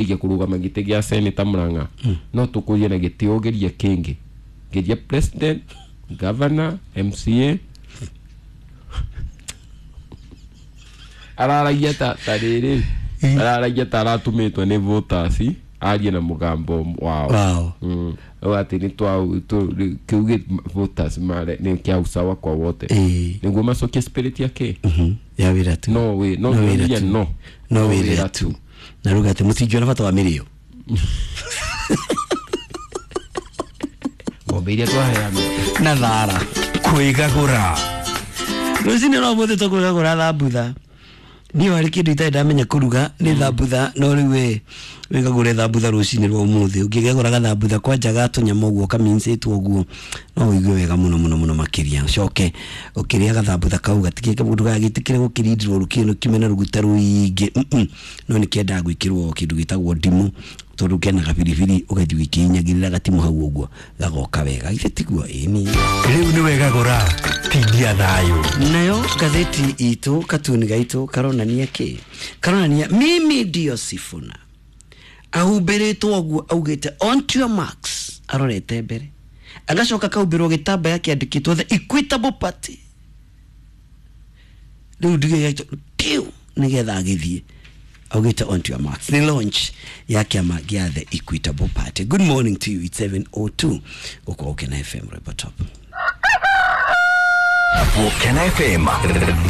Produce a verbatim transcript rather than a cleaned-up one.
Ige kurugama gĩtĩ gĩa seneta Murang'a no tũkũrie na gĩtĩ ũgerie kĩngĩ, geria president, governor, M C A. Araragia ta ta rĩrĩ, araragia ta aratumĩtwo nĩ voters arie na mũgambo wao. Wao. Mm. Rĩu atĩ nĩ twa tu- kĩu gĩ voters mare nĩ kĩa usawa kwa wote. Ĩĩ. Nĩguo macokie spirit ya kĩ Mhm. Ya wĩra tu. No wĩ no No wĩra wĩra tu. no No wĩra tu na ruga atĩ mũtingiona bata wa mĩrĩo. Ng'ombe iria twaheana na thara. Kwĩgagũra. Rũcinĩ no mũthĩ tũkwĩgagũra thambutha. Niĩ harĩ kĩndũ itarĩ ndamenya kũruga nĩ thambutha, no rĩu we wĩgagũre thambutha rũcinĩ rwa ũmũthĩ. Ũngĩgagũra gathambutha kwanja ga tũnyama ũguo kamincĩtwo ũguo, no ũigue wega mũno mũno mũno makĩria. Ũcoke ũkĩrĩa gathambutha kau gatikĩke mũndũ gagĩtĩkĩre gũkĩrindirwo rũkĩno kiume na rũguta rũingĩ. Mm-mm. No nĩ kĩendaga gwĩkĩrwo kĩndũ gĩtagwo ndimũ, tondũ kena gabiribiri, ũgathiĩ ũgĩkĩinyagĩrĩra gatimũ hau ũguo gagoka wega. Githĩ tiguo? Ĩni. Rĩu nĩ wegagũra tindia thayũ. Nayo ngathĩti itũ katuni gaitũ karonania kĩ? Karonania mimi ndio Sifuna ahumbĩrĩtwo ũguo, augĩte, "On to your marks," arorete mbere, agacoka kahumbĩrwo gĩtambaya kĩandĩkĩtwo The Equitable Party. Rĩu ndige tiu nĩgetha agĩthiĩ augĩte, "On to your marks." Nĩ launch ya kĩama gĩa The Equitable Party. Good morning to you. It's seven oh two gũkũ Gũkena F M, Rwĩmbo Top. Gũkena F M.